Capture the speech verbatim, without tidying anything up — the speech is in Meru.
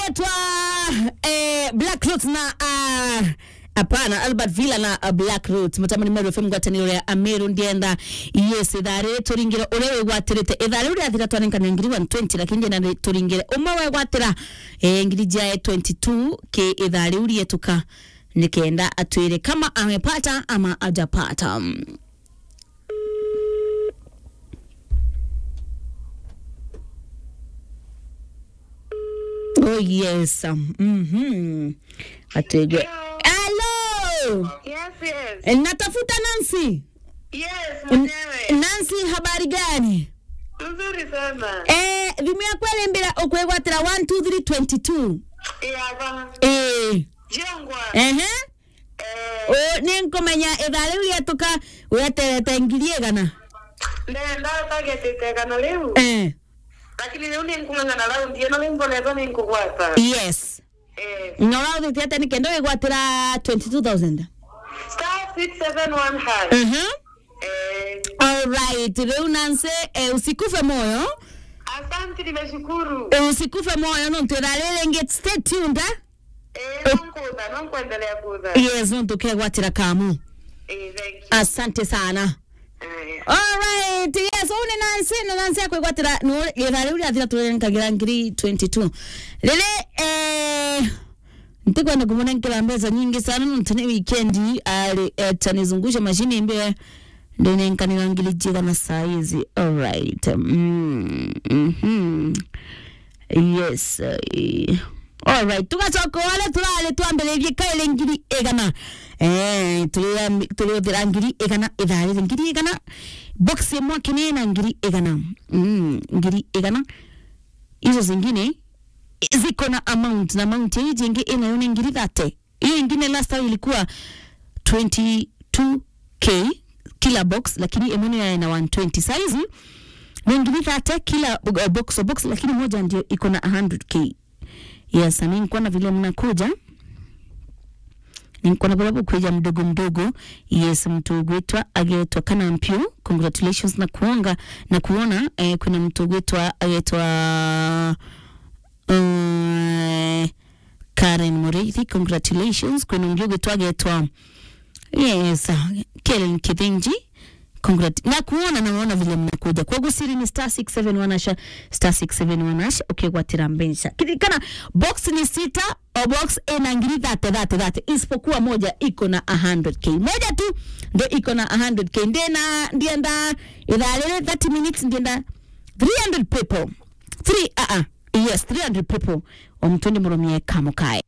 Etwa, eh, Black Roots na, ah, hapana, Albert Villa na, ah, Black Roots. Mutamani Meru F M, ngwataniro ya Ameru ndienda. Yes, ithari turingire uria wigwatirite. Ithari uria athira twanenkana ngiri one twenty, lakini ndienda turingire umwe wegwatira, eh, ngiri jae twenty-two K ithari uria tuka. Nikenda atwire kama amepata ama ajapata. Oh, yes. Mhm. Atwege. Hello. Hello. Yes, yes. Eh, natafuta Nancy. Yes, mwenyewe. Nancy, habari gani? Nzuri sana. Eh, thimu yaku irimbira ukwigwatira one two three twenty-two. Iya, ba. Eh. Jongwa. Ehe. Eh. O, ni nkumenya ithaa riu rietuka, weterete ngiri igana? Ndenda targetite igana riu. Eh. Lakini riu ni nkung'ang'ana raundi ino, riu mbonetwo ni nkugwata. Yes. Eh. Na urauthitie atia nikenda wigwatira twenty-two thousand? Star six seven one hash. Mhm. Eh. All right, riu Nancy, eh, usikufe moyo. Asante, nimeshukuru. Eh, usikufe moyo, nontu ithaa riri ringi, stay tuned, eh? Eh, no nkutha, no nkwendelea kutha. Yes, nontu ukegwatira kamu. Eh, thank you. Asante sana. Aya. All right, yes, uu ni Nancy, na Nancy akwigwatira, no, ithaa riu riathira turenkagira ngiri twenty-two. Riri, eh, ntikwenda kumunenkera mbeca nyingi sana, nontu ni weekend, ari, eh, tanizungusha mashini mbe, ndinenkanira ngiri jigana saa hizi. All right. Mm, mhm. Yes, eh, all right. Tugacoka wale turari twambiririe kairi ngiri igana. Eh, turi-, turiuthira ngiri igana ithaa riri. Ngiri igana. Box imwe kini na ngiri igana. Mm, ngiri igana. Izo zingine ziko na amount, na amount hii jingi inayo ni ngiri thirty. Hiyo ingine last time ilikuwa twenty-two K kila box, lakini imwe ni ya na one twenty. Saizi ni ngiri thirty kila, uh, box, box, lakini moja ndio iko na a hundred K. Yes, na nikuona vile mnakuja. Nikuona vile bukuja mdogo mdogo. Yes, mtu ugwitwa, agetwa Kana Mpio. Congratulations na kuonga, na kuona, eh, kuna mtu ugwitwa, agetwa, eh, Karen Muriithi, congratulations. Kwina ungi ugwitwa agetwa, yes, uh, Kellen Kithinji, congrat-, na kuona na unaona vile mnakuja. Kwa gusiri ni star six seven one hash, star six seven one hash, ukigwatira mbeca. Kiririkana, box ni sita, o box ina ngiri thirty, thirty, thirty, isipokuwa moja iko na a hundred K. Moja tu ndo iko na a hundred K. Ndina, ndienda, ithaa riri, thirty minutes, ndienda three hundred people. Three, uh, uh, yes, three hundred people. O mtu ndi murumie kamukae.